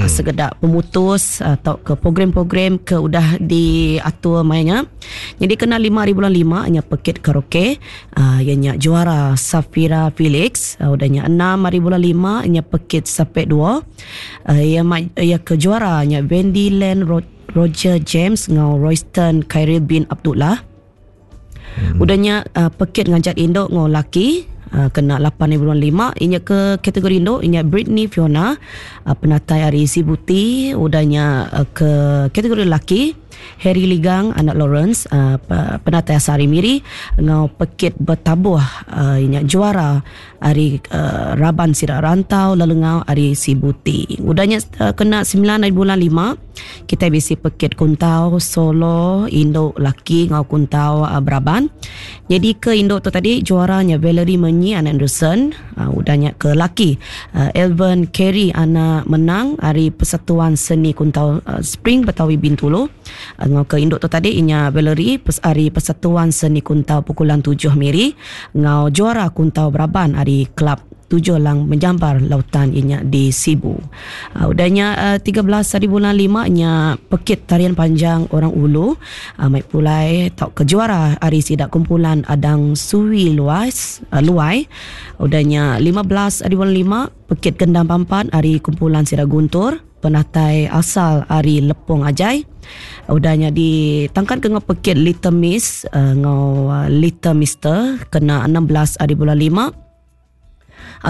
ngaga sekeda pemutus atau ke program-program ke udah diatur maya nya. Jadi kena 5 hari bulan 5 nya pekit karaoke iya nya juara Safira Felix, udah nya 6 hari bulan 5 nya pekit sapek 2 iya iya ke juara nya Wendy Len Roger James enggau Royston Khairil bin Abdullah. Udah nya pekit ngajat indu enggau laki kena 8 hari bulan 5 inya ke kategori indu inya Britney Fiona penatai ari Sibuti udah nya ke kategori laki Harry Ligang anak Lawrence penatai asal ari Miri enggau pekit betabuh inya juara ari raban sida rantau lalu enggau ari Sibuti. Udah nya kena 9 hari bulan 5 kitai bisi pekit kuntau solo indu laki enggau kuntau beraban. Nyadi ke indu tu tadi juara nya Valerie Menyi anak Anderson, udah nya ke laki Elven Kerry anak Menang ari Persatuan Seni Kuntau Spring Betawi Bintulu. Enggau ke indu tu tadi inya Valerie ari Persatuan Seni Kuntau Pukulan Tujuh Miri enggau juara kuntau beraban ari Kelab Tujuh Lang Menjambar Lautan inya di Sibu. Udah nya 13 hari bulan 5 nya pekit tarian panjang orang ulu mai pulai tauka juara ari sida kumpulan Adang Suwi Luas Luai. Udah nya 15 hari bulan 5 pekit gendang pampat ari kumpulan sida Guntur. Penatai asal ari Lepong Ajai udah nya ditangkan ke enggau pekit Little Miss enggau Little Mister kena 16 ari bulan 5.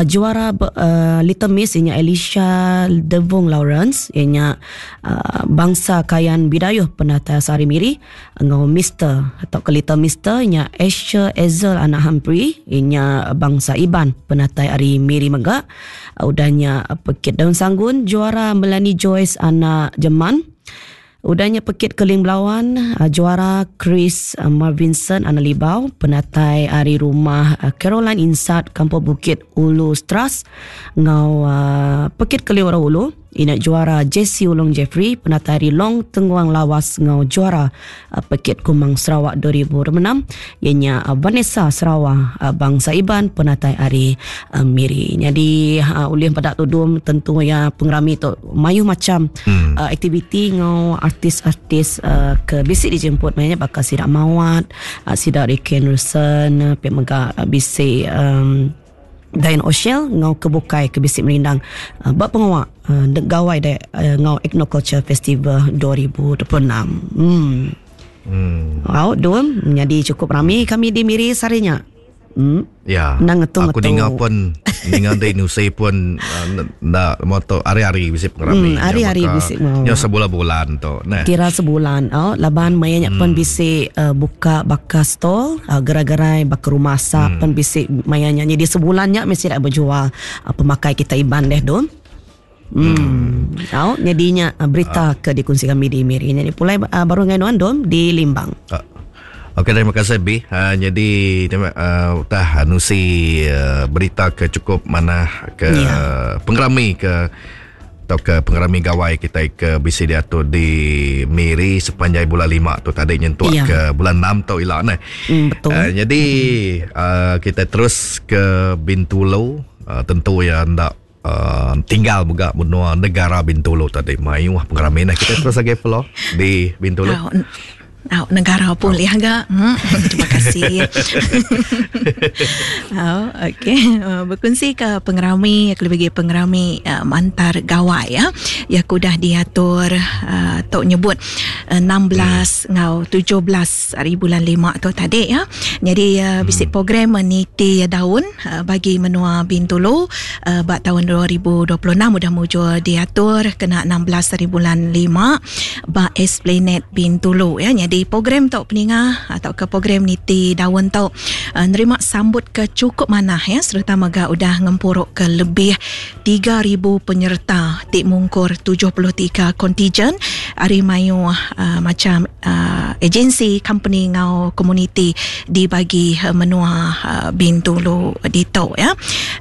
Juara Little Miss iya nya Elisha Devong Lawrence iya nya bangsa Kayan Bidayuh penatai asal ari Miri enggau Mister tauka Little Mister iya nya Asher Ezel anak Humphrey iya nya bangsa Iban penatai ari Miri mega. Udah nya pekit Daun Sanggun juara Melanie Joyce anak Jeman. Udah nya pekit Keling Belawan juara Chris Marvinson anak Libau penatai ari rumah Caroline Insat Kampung Bukit Ulu Stras enggau pekit Keling Orang Ulu ina juara Jesse Ulong Jeffrey penatai ari Long Tenguang Lawas enggau juara Pekit Kumang Sarawak 2026 iya nya Vanessa Sarawak bangsa Iban penatai ari Miri. Nyadi ulih peda tudung tentu iya pengerami tu mayuh macam aktiviti enggau artis-artis ke bisi dijemput maya nya baka sida Mawat, sida Ricky Anderson pia mega bisi Dian Oshel enggau ke bukai ke bisi merindang ba pengawa Gawai Dayak enggau Ethnoculture Festival 2026. Hmm. Hmm. Au dum nyadi cukup rami kami di Miri sehari nya. Hmm. Ya. Nang ngetu Aku ninga pun ninga di Nusi pun nda moto hari-hari bisi pengerami. Hmm, hari-hari bisi mau. Nya sebulan-bulan tu. Nah. Kira sebulan. Oh, laban maya nya pun bisi buka baka stall, gerai-gerai baka rumah asap pen bisi maya nya. Jadi sebulan nya mesti dak bejual pemakai kita Iban deh dum. Hmm. Au, jadi nya berita ke dikongsi kami di Miri. Jadi pulai baru ngai nuan dum di Limbang. Okey terima kasih B. Jadi terima utah nusi berita ke cukup manah ke yeah. pengerami ke atau ke pengerami gawai kita ke bisi diatur di Miri sepanjai bulan 5 tu tadi nyentuk yeah. ke bulan 6 tu ila neh. Betul. Jadi kita terus ke Bintulu tentu ya ndak Tinggal mega menua negara Bintulu tadi mayuh pengerami nah kita terus agi follow di Bintulu. Au, au negara pun liah ga. Terima kasih. Au, okey. Berkongsi ke pengerami ke lebih pengerami uh, mantar gawai ya. Ya ku dah diatur uh, tok nyebut uh, 16 hmm. ngau 17 hari bulan 5 tu tadi ya. Jadi uh, bisi program niti daun bagi menua Bintulu ba taun 2026 udah mujur diatur kena 16 hari bulan 5 ba Esplanade Bintulu ya. Nyadi program tu peninga tauka program niti daun tu nerima sambut ke chukup manah ya sereta mega udah ngempuru ke lebih 3000 penyerta ti mungkur 73 kontijen ari mayuh uh, macam uh, agensi, company ngau komuniti di bagi uh, menua uh, Bintulu ditu ya.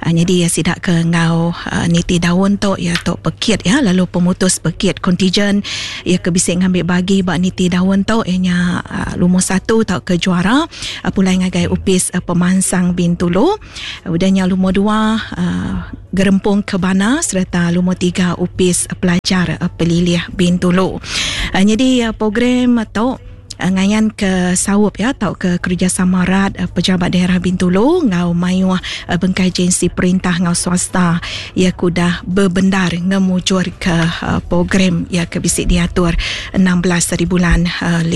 Uh, jadi sida ke ngau uh, niti daun tu ya tu pekit ya lalu pemutus pekit kontijen ya ke bisi ngambil bagi ba niti daun tu ianya uh, lumur satu tau ke juara uh, pulai ngagai upis uh, pemansang Bintulu. Udah nya lumur dua uh, Gerempung Kebana sereta lumur tiga Upis Pelajar Pelilih Bintulu. Uh, jadi uh, program tu ngayan ke saup ya tau ke kerjasama rat pejabat daerah Bintulu ngau mayuh bengkai agensi perintah ngau swasta ya kudah bebendar ngemujur ke program ya ke bisi diatur 16 hari bulan 5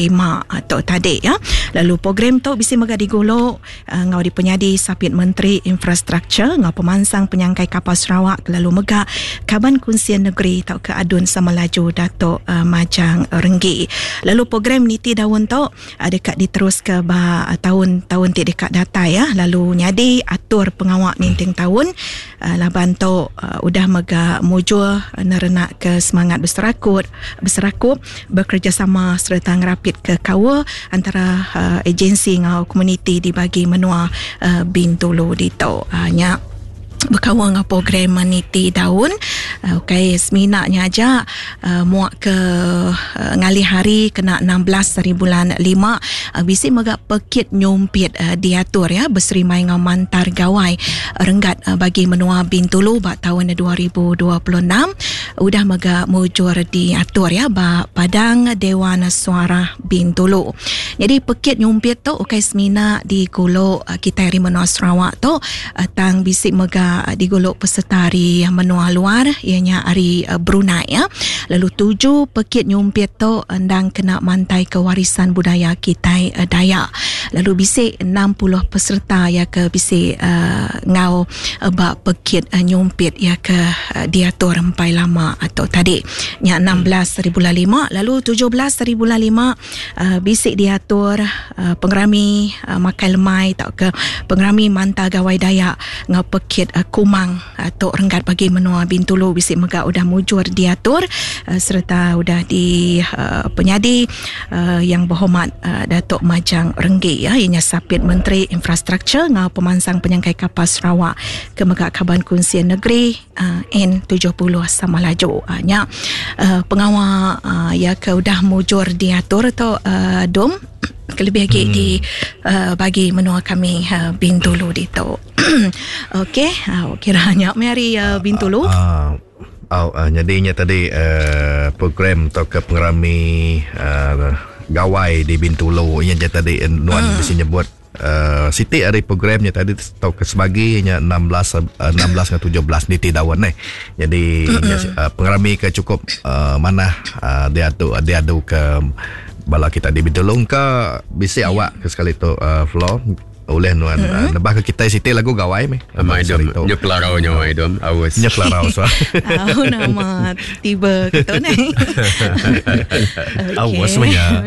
tu tadi ya. Lalu program tu bisi mega digulu enggau dipenyadi Sapit Menteri Infrastruktur enggau Pemansang Penyangkai Kapal Sarawak lalu mega Kaban Kunsil Negeri tauka ADUN Samalaju Datuk Majang Renggi. Lalu program niti daun tu deka diteruska ba taun-taun ti deka datai ya lalu nyadi atur pengawa ninting taun laban tu udah mega mujur nerenakka semangat beserakut beserakup bekerejasama sereta ngerapitka kaul antara agensi enggau komuniti di bagi menua Bintulu ditu. Nya bekaul enggau program niti daun ukai semina nya aja muak ke ngalih hari kena 16 hari bulan 5 bisi mega pekit nyumpit diatur ya beserimai enggau mantar gawai renggat bagi menua Bintulu ba taun 2026. Udah mega mujur diatur ya ba Padang Dewan Suarah Bintulu. Nyadi pekit nyumpit tu ukai semina digulu kitai ari menua Sarawak tu tang bisi mega digulu peserta ari menua luar iya nya ari Brunei ya. Lalu tuju pekit nyumpit tu endang kena mantaika warisan budaya kitai Dayak. Lalu bisi 60 peserta iya ke bisi enggau ba pekit nyumpit iya ke diatur empai lama tu tadi. Nya 16 hari bulan 5 lalu 17 hari bulan 5 bisi diatur pengerami makai lemai tauka pengerami Manta Gawai Dayak enggau pekit Kumang tu renggat bagi menua Bintulu bisi mega udah mujur diatur sereta udah di penyadi Yang Berhormat Datuk Majang Renggi iya nya Sapit Menteri Infrastruktur enggau Pemansang Penyangkai Kapal Sarawak ke mega Kaban Kunsil Negeri N70 Samalaju. Nya pengawa iya ke udah mujur diatur tu Dom kelebih agi di bagi menua kami Bintulu ditu. Okey, kira nya meh ari Bintulu. Au nyadi nya tadi program tauka pengerami gawai di Bintulu nya ja tadi nuan bisi nyebut siti ari program nya tadi tauka sebagi nya 16 16 enggau 17 niti daun neh. Nyadi nya pengerami ke chukup manah diatu diadu ke bala kita di Bintulu engka bisi awak ke sekali tu Flo. Ulih nuan mm-hmm. nebah ke kitai siti lagu gawai meh. Amai dom. Nyu kelarau nya amai dom. Aus. Nyu kelarau so. Au nama tiba ke tu ni. Aus meh nya.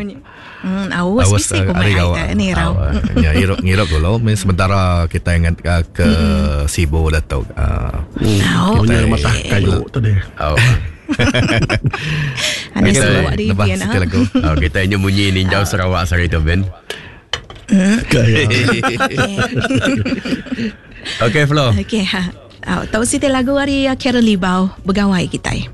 Aus bisi ku mai ai ni rau. Ya iruk ngiruk dulu meh sementara kitai ngan ke Sibu dah tu. Oh, kita matah kayu tu deh. Au. Ani Sarawak di pian. Oh, kita nyu munyi ninjau Sarawak sehari tu Ben. Okey Flo. Okey ha. Tau siti lagu ari Karen Libau begawai kitai.